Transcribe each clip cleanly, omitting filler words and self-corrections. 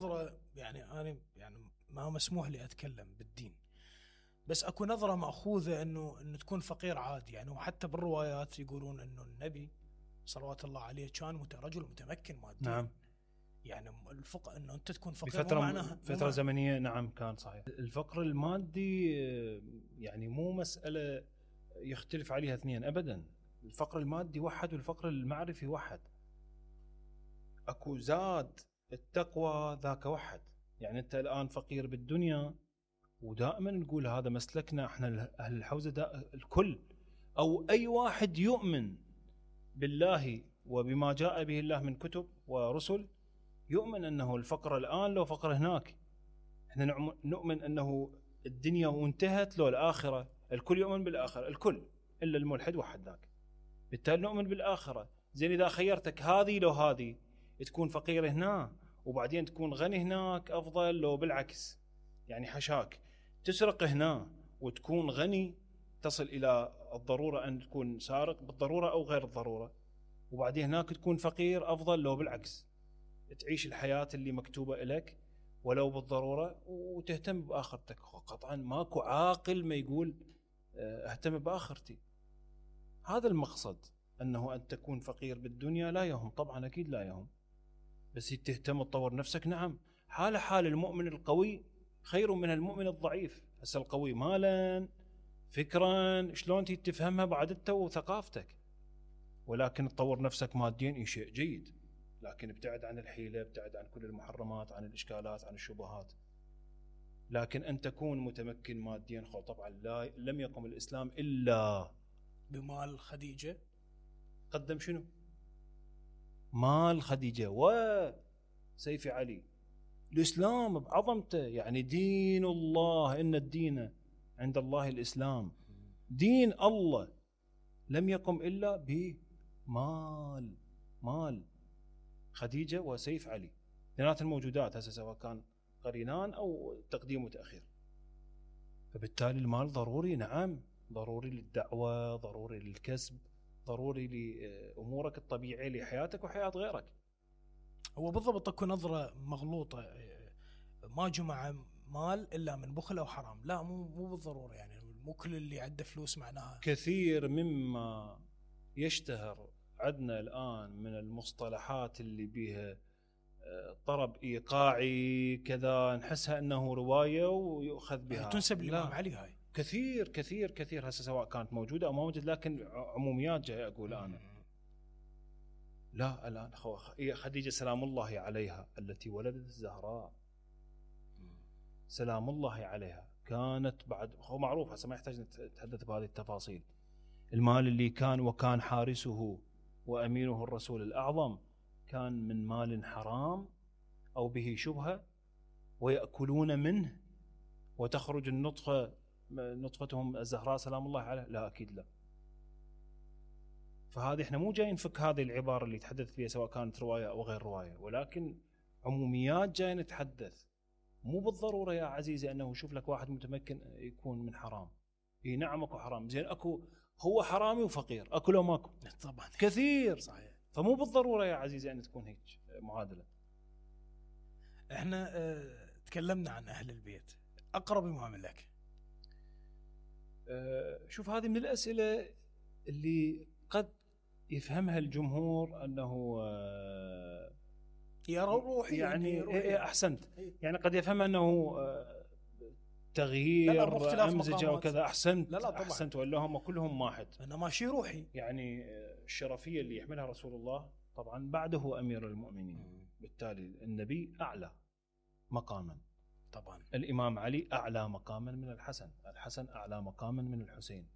نظرة يعني أنا يعني ما مسموح لي أتكلم بالدين، بس أكو نظرة مأخوذة إنه تكون فقير عادي يعني. وحتى بالروايات يقولون إنه النبي صلوات الله عليه كان رجل متمكن ماديا. نعم. يعني الفقر إنه أنت تكون فقير بفترة فترة زمنية. نعم كان صحيح. الفقر المادي يعني مو مسألة يختلف عليها اثنين أبدا. الفقر المادي وحد والفقر المعرفي وحد. أكو زاد التقوى ذاك وحد. يعني أنت الآن فقير بالدنيا، ودائما نقول هذا مسلكنا احنا أهل الحوزة، الكل أو أي واحد يؤمن بالله وبما جاء به الله من كتب ورسل يؤمن أنه الفقر الآن لو فقر هناك. احنا نؤمن أنه الدنيا وانتهت لو الآخرة. الكل يؤمن بالآخرة، الكل إلا الملحد وحد ذاك. بالتالي نؤمن بالآخرة. زين إذا خيرتك هذه لو هذه، تكون فقير هنا وبعدين تكون غني هناك أفضل لو بالعكس. يعني حشاك تسرق هنا وتكون غني، تصل إلى الضرورة أن تكون سارق بالضرورة أو غير الضرورة، وبعدين هناك تكون فقير أفضل لو بالعكس. تعيش الحياة اللي مكتوبة لك ولو بالضرورة وتهتم بآخرتك. قطعا ماكو عاقل ما يقول اهتم بآخرتي. هذا المقصد، أنه أن تكون فقير بالدنيا لا يهم، طبعا أكيد لا يهم، بس تهتم تطور نفسك. نعم، حال المؤمن القوي خير من المؤمن الضعيف. هسه القوي مالا فكرا شلون تفهمها بعد انت وثقافتك، ولكن تطور نفسك ماديا شيء جيد، لكن ابتعد عن الحيلة، ابتعد عن كل المحرمات، عن الإشكالات، عن الشبهات. لكن أن تكون متمكن ماديا طبعا لم يقم الإسلام إلا بمال خديجة. قدم شنو؟ مال خديجة وسيف علي. الإسلام بعظمته، يعني دين الله، إن الدين عند الله الإسلام. دين الله لم يقم إلا بمال خديجة وسيف علي، اثنينات الموجودات هسه سواء كان قرينان أو تقديم وتأخير. فبالتالي المال ضروري. نعم، ضروري للدعوة، ضروري للكسب، ضروري لأمورك الطبيعية لحياتك وحياة غيرك. هو بالضبط اكو نظرة مغلوطة، ما جمع مال إلا من بخل أو حرام. لا، مو بالضرورة. يعني مو كل اللي عنده فلوس معناها. كثير مما يشتهر عندنا الآن من المصطلحات اللي بيها طرب إيقاعي كذا، نحسها أنه رواية ويؤخذ بها، تنسب للإمام علي. هاي كثير كثير كثير هسه سواء كانت موجودة أو ما موجودة، لكن عموميات جاي أقول أنا. لا، الآن خديجة سلام الله عليها التي ولدت الزهراء سلام الله عليها كانت بعد، هو معروف هسه ما يحتاج نتحدث بهذه التفاصيل. المال اللي كان وكان حارسه وأمينه الرسول الأعظم كان من مال حرام أو به شبهة ويأكلون منه وتخرج نطفتهم الزهراء سلام الله عليها؟ لا، أكيد لا. فهذه احنا مو جايين نفك هذه العبارة اللي تحدث فيها سواء كانت رواية أو غير رواية، ولكن عموميات جايين نتحدث. مو بالضرورة يا عزيزي أنه شوف لك واحد متمكن يكون من حرام. نعم اكو حرام، زين اكو هو حرامي وفقير، اكو لو ماكو؟ طبعا كثير. صحيح. فمو بالضرورة يا عزيزي أن تكون هيك معادلة. احنا تكلمنا عن أهل البيت، أقرب إمام لك. شوف، هذه من الأسئلة اللي قد يفهمها الجمهور أنه يا روحي يعني روحي. أحسنت. يعني قد يفهم أنه تغيير أمزجة وكذا. أحسنت. لا طبعا. أحسنت، ولا هم كلهم واحد. أنا ماشي روحي. يعني الشرفية اللي يحملها رسول الله طبعا بعده أمير المؤمنين، بالتالي النبي أعلى مقاما طبعا. الإمام علي أعلى مقاما من الحسن أعلى مقاما من الحسين،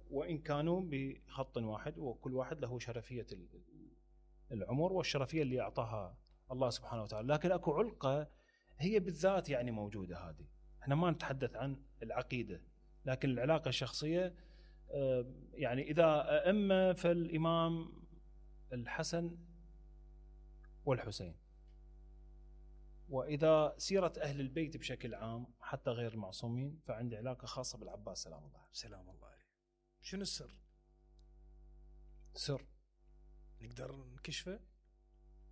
وإن كانوا بخط واحد، وكل واحد له شرفية العمر والشرفية اللي أعطاها الله سبحانه وتعالى. لكن أكو علقة هي بالذات يعني موجودة. هذه احنا ما نتحدث عن العقيدة، لكن العلاقة الشخصية. يعني إذا أئمة فالإمام الحسن والحسين، وإذا سيرة أهل البيت بشكل عام حتى غير المعصومين فعندي علاقة خاصة بالعباس سلام الله عليه. شنو السر؟ سر نقدر نكشفه؟